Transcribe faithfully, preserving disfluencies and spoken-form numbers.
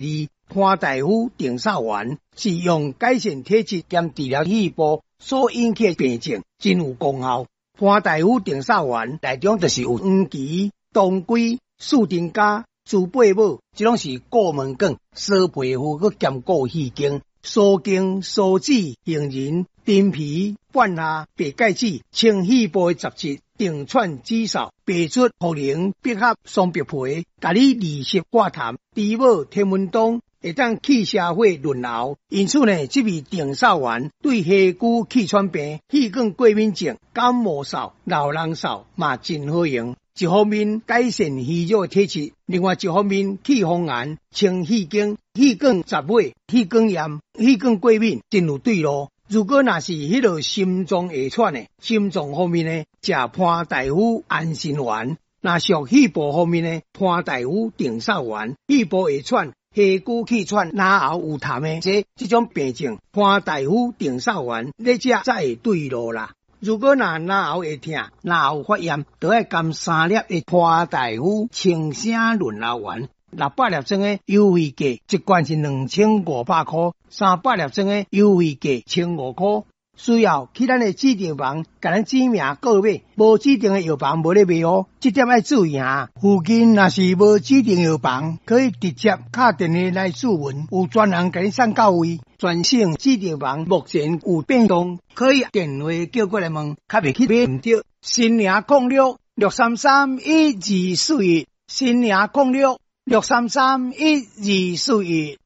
二，潘大夫定嗽丸是用改善體質兼治療肺部所引起的病症，真有功效。潘大夫定嗽丸內中就是有黃芪、當歸、四丁加、豬八母，這攏是顧門管、疏皮膚，閣兼顧肺經、蘇莖、蘇子、杏仁、陳皮、半夏、白芥子，清肺部的雜質，定喘止嗽、白術、茯苓、百合、桑白皮，共你利濕化痰、豬母、天門冬，會當氣消火潤喉。因此呢，這味定嗽丸對下久氣喘病、氣管過敏症、感冒嗽、老人嗽嘛真好用。一方面改善虛弱的體質，另外一方面去風寒、清肺經、氣管雜火、氣管炎、氣管過敏，真有對路。如果若是彼个心臟會喘的，心臟方面呢，食潘大夫安心丸；若屬肺部方面呢，潘大夫定嗽丸。肺部會喘、下久氣喘、咽喉有痰的這這種病症，潘大夫定嗽丸，你食才會對路啦。如果若咽喉會疼、咽喉發炎，就愛含三粒的潘大夫清聲潤喉丸。六百粒裝的優惠價，一罐是兩千五百箍；三百粒裝的優惠價千五箍。需要去咱的指定房，共咱指名購買，無指定的藥房無咧賣哦。這點愛注意啊！附近若是無指定藥房，可以直接敲電話來諮詢，有專人共你送到位。全省指定房目前有變動，可以電話叫過來問，較袂去買毋著。新營空六六三三一二四一，新營空六六三三一二四一。